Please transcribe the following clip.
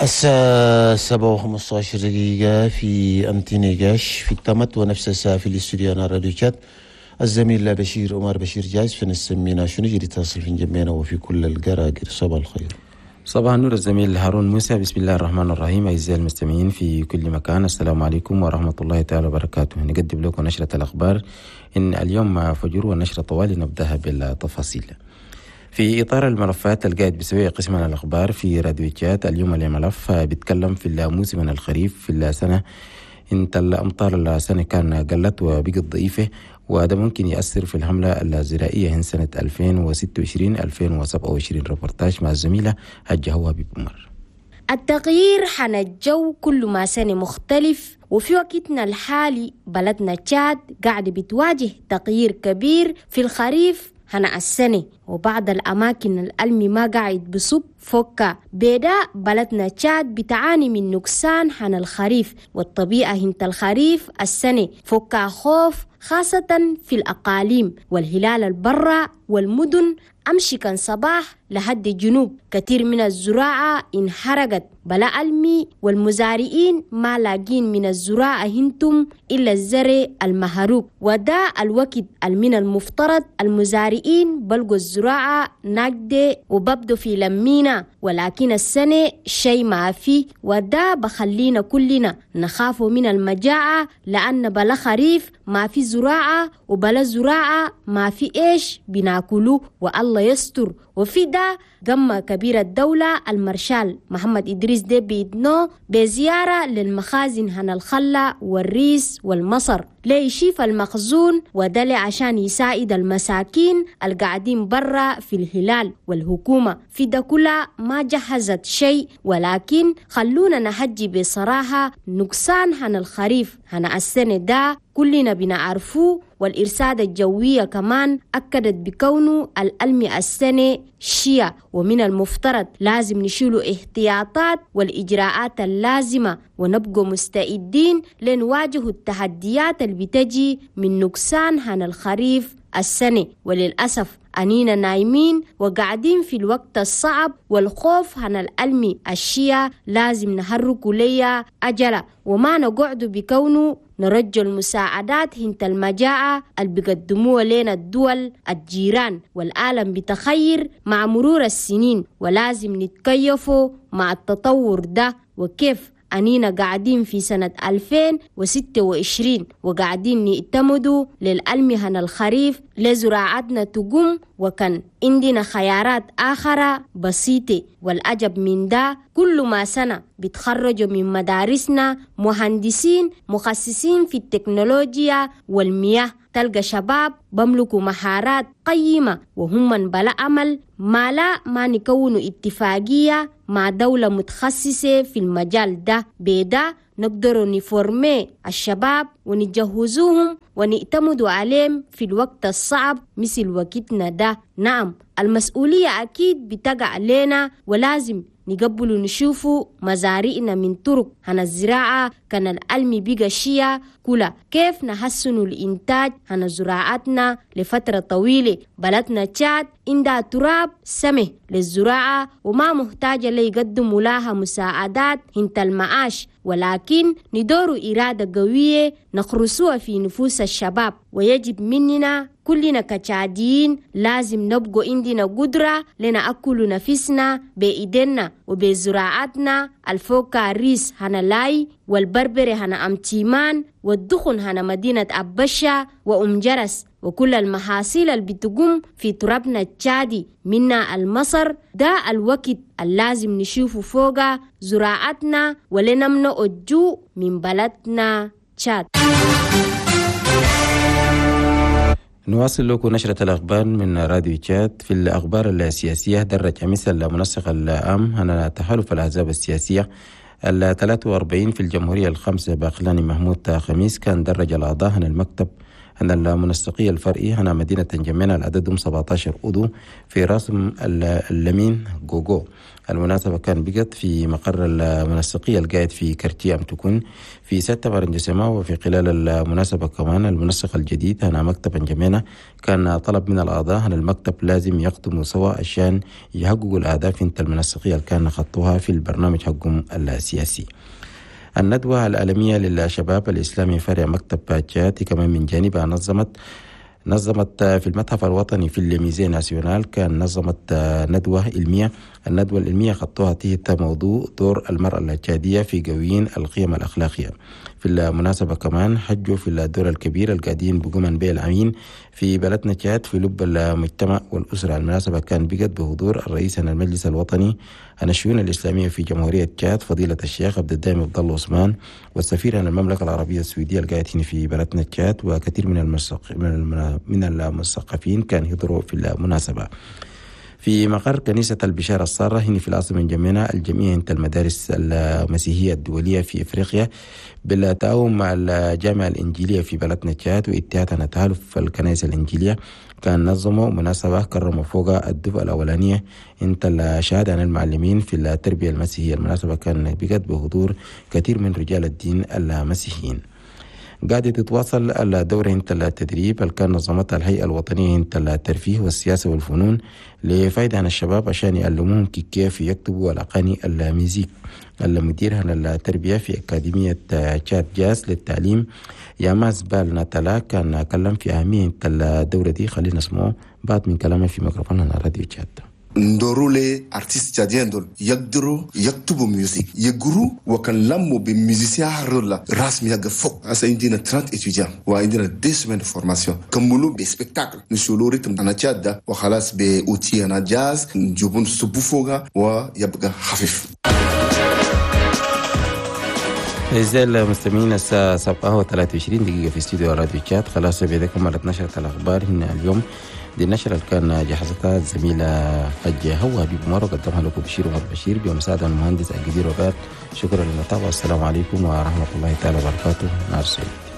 الساعة 7:15 في أمتنيجاش في التمت، ونفس الساعة في الاستوديو أنا راديو تشاد. الزميل بشير عمر بشير جايز في نسمينا شنو جري تصل في جمينا وفي كل القراقر. صباح الخير. صباح النور الزميل هارون موسى. بسم الله الرحمن الرحيم. أعزائي المستمعين في كل مكان، السلام عليكم ورحمة الله تعالى وبركاته. نقدم لكم نشرة الأخبار إن اليوم فجر، والنشرة طوالي نبدأها بالتفاصيل. في إطار الملفات القاعد بسوي قسم الأخبار في راديو تشاد، اليوم الملف بيتكلم في الموسم الخريف في السنة. انت الأمطار السنة كان قلت وبقت ضعيفة، وهذا ممكن يأثر في الحملة الزراعية سنة 2026-2027. ريبورتاج مع الزميلة حجة هوابي عمر. التغيير حن الجو كل ما سنة مختلف، وفي وقتنا الحالي بلدنا تشاد قاعدة بتواجه تغيير كبير في الخريف هنا السنة، وبعض الأماكن الألمي ما قاعد بصب فوكا بيدا. بلدنا تشاد بتعاني من نقصان حن الخريف، والطبيعة هنت الخريف السنة فوكا خوف، خاصة في الأقاليم والهلال البرة والمدن. أمشي كان صباح لحد الجنوب كثير من الزراعة انحرقت بلا ألمي، والمزارعين ما لاقين من الزراعة هنتم إلا الزرع المهروب. وده الوقت من المفترض المزارعين بلقوا الزراعة ناجدة وببدو في لمينا، ولكن السنة شيء ما فيه، وده بخلينا كلنا نخاف من المجاعة، لأن بلا خريف ما في زراعة، وبلا زراعة ما في إيش بناكلو، والله يستر. وفي ده قمة كبيرة الدولة المارشال محمد إدريس ديبي إدنو بزيارة للمخازن هنا الخلة والريس والمصر ليشيف المخزون، وده عشان يساعد المساكين القاعدين برا في الهلال. والحكومة في ده كلها ما جهزت شيء، ولكن خلونا نحجي بصراحة نقصان هنا الخريف هنا السنة ده كلنا بنعرفوه، والإرصاد الجوية كمان أكدت بكونه الألمي السنة شيا، ومن المفترض لازم نشيلوا احتياطات والإجراءات اللازمة ونبقوا مستعدين لنواجه التحديات اللي بتجي من نقصان هن الخريف السنة. وللأسف أنينا نايمين وقاعدين في الوقت الصعب والخوف هن الألمي الشيا لازم نهركوا ليا أجلة، وما نقعد بكونه نرجو المساعدات هنت المجاعة اللي بيقدموها لنا الدول الجيران، والعالم بتخير مع مرور السنين، ولازم نتكيفوا مع التطور ده. وكيف أنينا قاعدين في سنة 2026 وقاعدين نعتمدوا للألمي هن الخريف لزراعتنا تقوم، وكان عندنا خيارات آخرى بسيطة. والعجب من ده كل ما سنة بيتخرجوا من مدارسنا مهندسين مخصصين في التكنولوجيا والمياه، تلقى شباب بملكوا مهارات قيمة وهم من بلا عمل. ما لا ما نكونوا اتفاقية مع دولة متخصصة في المجال ده، بدا نقدر نفورمي الشباب ونجهزوهم ونعتمدوا عليهم في الوقت الصعب مثل وقتنا ده. نعم المسؤولية أكيد بتقع علينا، ولازم نقبلوا نشوفوا مزارعنا من طرق هنا الزراعة كان الألمي بقى شيا كلا كيف نحسنوا الإنتاج هنا زراعتنا لفترة طويلة. بلدنا تشاد عندها تراب سمه للزراعة وما محتاجة ليقدموا لها مساعدات هنت المعاش، ولكن ندور إرادة قوية نخرسوها في نفوس الشباب. ويجب مننا كلنا كتشاديين لازم نبقوا عندنا قدرة لنأكل نفسنا بإيدينا وبزراعتنا. الفوكا ريس هنا لاي، والبربري هنا أمتيمان، والدخن هنا مدينة أبشة وأم جرس، وكل المحاصيل اللي بتقوم في ترابنا التشادي منا المصر. ده الوقت اللازم نشوفه فوق زراعتنا ولنمنع الجوع من بلدنا تشاد. نواصل لكم نشرة الأخبار من راديو تشاد. في الأخبار السياسية، درج أمس المنسق العام هنا تحالف الأحزاب السياسية ال 43 في الجمهورية الخمسة باقلاني محمود خميس كان درج الأعضاء هنا المكتب أن المنسقية الفرعي هنا مدينة انجمينا العددهم 17 عضو في راسم اللمين جوجو. المناسبة كان بقت في مقر المنسقية القاعد في كرتي أم تكون في 6 برنجسما. وفي خلال المناسبة كمان المنسق الجديد هنا مكتب انجمينا كان طلب من الأعضاء أن المكتب لازم يقدموا سوا عشان يحققوا الأهداف انت المنسقية اللي كان خطوها في البرنامج حقهم السياسي. الندوة العالمية للشباب الإسلامي فرع مكتب تشاد كمان من جانبها نظمت في المتحف الوطني في ال musée national كان نظمت ندوة علمية. الندوة العلمية خطوها تحت موضوع دور المرأة التشادية في قوين القيم الأخلاقية. في المناسبة كمان حجوا في الدور الكبير القاعدين بقومن به الأمين في بلدنا تشاد في لب المجتمع والأسرة. المناسبة كان بقت بحضور الرئيس المجلس الوطني عن الشؤون الإسلامية في جمهورية تشاد فضيلة الشيخ عبد الدائم عبد الله عثمان، والسفير عن المملكة العربية السعودية القاعدين في بلدنا تشاد، وكثير من المثقفين كان يحضروا في المناسبة. في مقر كنيسة البشارة السارة هنا في العاصمة انجمينا الجمعية انت المدارس المسيحية الدولية في إفريقيا بالتعاون مع الجامعة الإنجيلية في بلدنا تشاد واتحاد تحالف الكنائس الإنجيلية كان نظموا مناسبة كرموا فوق الدفعة الأولانية انت الشهادة عن المعلمين في التربية المسيحية. المناسبة كان بقت بحضور كثير من رجال الدين المسيحيين. قاعدة تتواصل الدورة انت التدريب اللي كان نظمتها الهيئة الوطنية انت الترفيه والسياسة والفنون لفايدة عن الشباب عشان يعلموهم كيف يكتبوا الأغاني ال musique. المدير عن التربية في أكاديمية تشاد جاز للتعليم ياماس بال ناتالا كان كلم في أهمية الدورة دي. خلينا نسمعه بعض من كلامه في ميكروفون على راديو تشاد. ندورو les artistes tchadiens دول يقدروا يكتبوا musique يقروا وكان لموا ب musiciens رولا رسمي يقف فوق. هسه عندنا 30 étudiants وعندنا 2 semaines de formation كملوا ب spectacle نشولوا rythme انا تشاد وخلاص ب outil انا جاز نجيبون سبو فوقها ويبقى خفيف. أعزائي المستمعين الساعة 7:23 في استوديو راديو تشاد. خلاص بذلك كملت نشرة الأخبار هنا اليوم. دي النشرة اللي كان جهزتها الزميلة حجة هو حبيب عمر وقدمها لكم بشير عمر بشير بمساعدة المهندس الجدير وبات. شكرا للمتابعة والسلام عليكم ورحمة الله تعالى وبركاته. نهار سعيد.